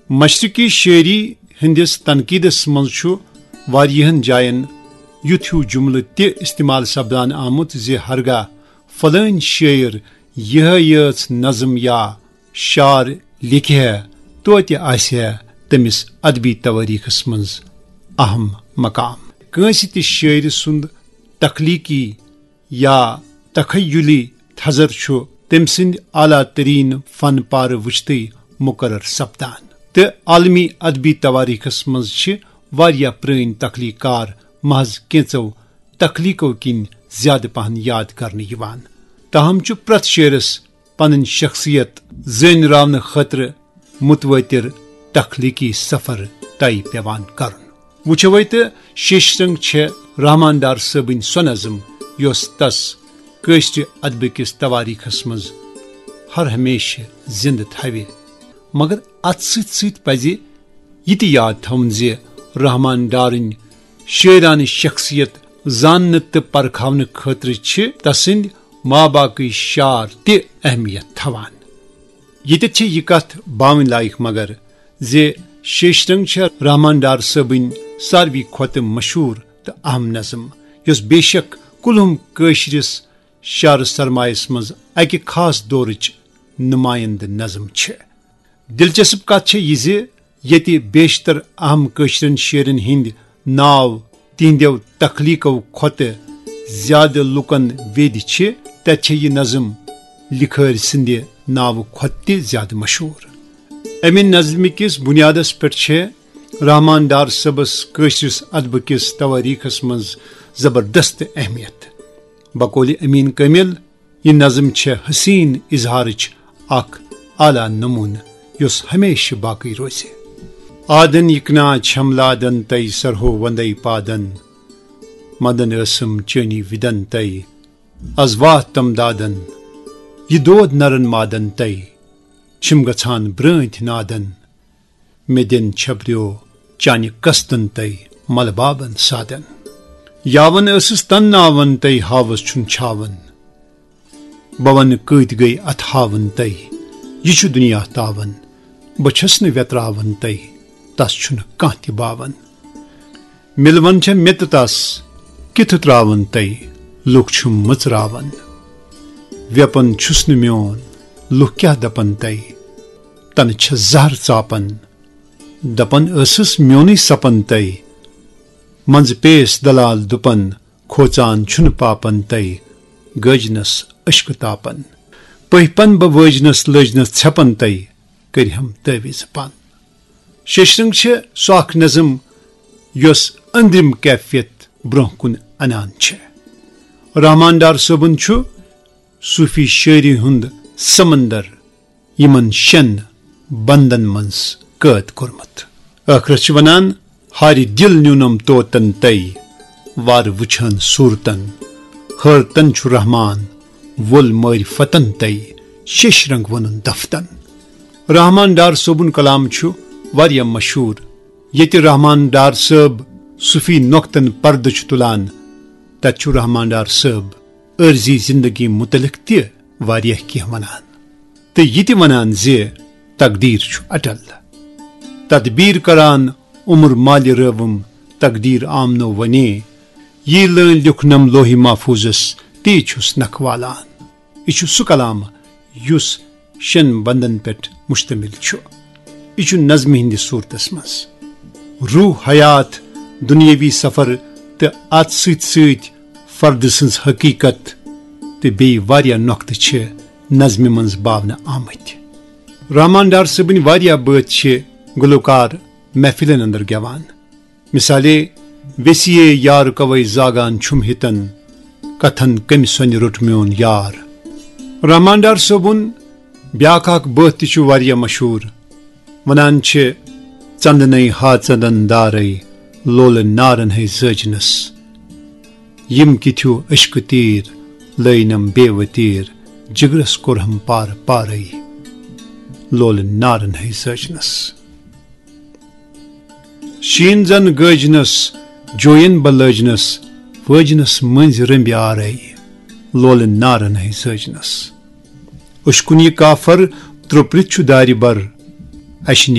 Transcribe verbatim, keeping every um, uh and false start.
مشرقی شاعری ہندس تنقیدس منز چھ واریاہن جاین یُتھ ہیو جملہٕ تہِ استعمال سپدان آمت زِ ہرگاہ فلٲنۍ شاعر یہے یٲژ نظم یا شعر لیکھِ ہے، توتہِ آسہِ ہے تٔمِس ادبی توٲریخس منز اہم مقام۔ کٲنسہِ تہِ شاعر سُند تخلیقی یا تخیلی تھزر چھُ تٔمۍ سٕنٛدۍ اعلیٰ تریٖن فن پارٕ وٕچھتٕے مقرر سپدان۔ تہٕ عالمی ادبی توٲریخس منٛز چھِ واریاہ پرٲنۍ تخلیق کار محض کینٛژو تخلیقو کِنۍ زیادٕ پہن یاد کرنہٕ یِوان۔ تاہم چھُ پرٛٮ۪تھ شٲعرس پنٕنۍ شخصیت زٲنۍ راونہٕ خٲطرٕ متوٲتر تخلیقی سفر طے پٮ۪وان کرُن۔ وٕچھوے تہٕ شیشرنگ چھےٚ رحمان ڈار صٲبٕنۍ سۄ نظم یۄس تس کٲشرِ ادبہٕ کِس توٲریخس منٛز ہر ہمیشہٕ زندٕ تھاوِ۔ مگر اتھ سۭتۍ سۭتۍ پزِ یہِ تہِ یاد تھاوُن زِ رحمان ڈارٕنۍ شٲعرانہٕ شخصیت زاننہٕ تہٕ پرکھاونہٕ خٲطرٕ چھِ تسٕنٛدۍ ماباقٕے شعر تہِ اہمیت تھاوان۔ ییٚتٮ۪تھ چھےٚ یہِ کتھ باوٕنۍ لایق مگر زِ شیشرنگ چھےٚ رحمان ڈار صٲبٕنۍ ساروی کھۄتہٕ مشہوٗر تہٕ اہم نظم، یۄس بے شک کُلہُم کٲشرِس شعر سرمایس منٛز اکہِ خاص دورٕچ نمایندٕ نظم چھےٚ۔ دلچسپ کتھ چھےٚ یہِ زِ ییٚتہِ بیشتر اہم کٲشرٮ۪ن شٲعرن ہٕنٛدۍ ناو تِہنٛدٮ۪و تخلیقو کھۄتہٕ زیادٕ لوٗکن ویدِ چھِ، تتہِ چھےٚ یہِ نظم لکھٲرۍ سٕنٛدِ ناوٕ کھۄتہٕ تہِ زیادٕ مشہوٗر۔ امہِ نظمہِ کِس بنیادس پٮ۪ٹھ چھےٚ رحمان ڈار صٲبس کٲشرِس ادبہٕ کِس توٲریخس منٛز زبردست اہمیت۔ بقولِ امین کامل، یہِ نظم چھےٚ حسین اظہارٕچ اکھ اعلیٰ نمونہٕ یۄس ہمیشہٕ باقٕے روزِ۔ آدن یِکناں چھم لادن تَے سرہو وندے پادن، مدن ٲسٕم چٲنی وِدن تَے از واتھ تم دادن، یہِ دود نرن مادن تَے چھِم گژھان برٲنٛتھۍ نادن۔ مےٚ دِن چھپریو چانہِ قستن تَے ملہٕ بابن سادن۔ یاون ٲسٕس تن ناون تَے ہاوس چھُن چھاون۔ بہٕ ونہٕ کۭتۍ گٔے اتھ ہاون تَے، یہِ چھُ دُنیا تاون۔ بہٕ چھَس نہٕ ویتراون تَے، تس چھُنہٕ کانٛہہ تہِ باون۔ مِلوَن چھےٚ مےٚ تہٕ تس کِتھٕ ترٛاوَن تَے، لُکھ چھِم مٕژراوان۔ ویپن چھُس نہٕ میون، لُکھ کیٛاہ دپن تَے، تنہٕ چھےٚ زہر ژاپان۔ دپان ٲسٕس میونُے سپن تَے، منٛزٕ پیس دلال دُپن، کھوژان چھُنہٕ پاپن تَے، گٲجنس اشکہٕ تاپن۔ پٔہۍ پن بہٕ وٲجنس لٲجنس ژھٮ۪پن تَے، کٔرۍ ہم تعویذ پن۔ شیشرنگ چھےٚ سۄ اکھ نظم یۄس أنٛدرِم کیفیت برونٛہہ کُن انان چھےٚ۔ رحمان ڈار صٲبُن چھُ صوفی شٲعری ہُنٛد سمندر یِمن شٮ۪ن بندن منٛز قٲد کوٚرمُت۔ ٲخرس چھِ ونان، ہارِ دِل نیونم توتن تَے، وارٕ وٕچھان صوٗرتن۔ حٲرتن چھُ رحمان، وول معرفتن تَے، شیشرنگ وونُن دفتن۔ رحمان ڈار صٲبُن کلام چھُ واریاہ مشہوٗر۔ ییٚتہِ رحمان ڈار صٲب صوفی نۄقطن پردٕ چھُ تُلان، تتہِ چھُ رحمان ڈار صٲب عٲرضی زندگی متعلق تہِ واریاہ کینٛہہ ونان تہٕ یہِ تہِ ونان زِ تقدیٖر چھُ اٹل۔ تدبیٖر کران عمر مالہِ رٲوٕم، تقدیٖر آمنو ونے۔ یی لٲنۍ لیوٚکھنم لوہہِ محفوظس، تی چھُس نکھٕ والان۔ یہِ چھُ سُہ کلام یُس شٮ۪ن بندن پٮ۪ٹھ مشتمل چھُ۔ یہِ چھُ نظمہِ ہٕنٛدِس صوٗرتس منٛز۔ روح حیات، دُنیٲوی سفر تہٕ اتھ سۭتۍ سۭتۍ فرد سٕنٛز حقیٖقت تہٕ بیٚیہِ واریاہ نۄقطہٕ چھِ نظمہِ منٛز باونہٕ آمٕتۍ۔ رحمان ڈار صٲبٕنۍ واریاہ بٲتھ چھِ گلوکار محفلن اندر گٮ۪وان۔ مثالے، ویسیے یار کوے زاگان چھُم ہِتن، کتھن کمہِ سۄنہِ روٚٹ میون یار۔ رحمان ڈار صٲبُن بیاکھ اکھ بٲتھ تہِ چھُ واریاہ مشہوٗر۔ ونان چھِ، ژندنے ہا ژندن دارے، لولہٕ نارن ہے زٲجنس۔ یِم کِتھیو عشقہٕ تیٖر، لٲینم بے وتیٖر، جگرس کوٚرہم پار پارے، لولہٕ نارن ہے زٲجنس۔ شیٖن زن گٲجنس، جوین بہٕ لٲجنس، وٲجنس مٔنزۍ رمبۍ آرے، لولہٕ نارن ہے زٲجنس۔ أچھ کُن یہِ کافر ترٛوپرِتھ چھُ دارِ بر، اَسہِ نے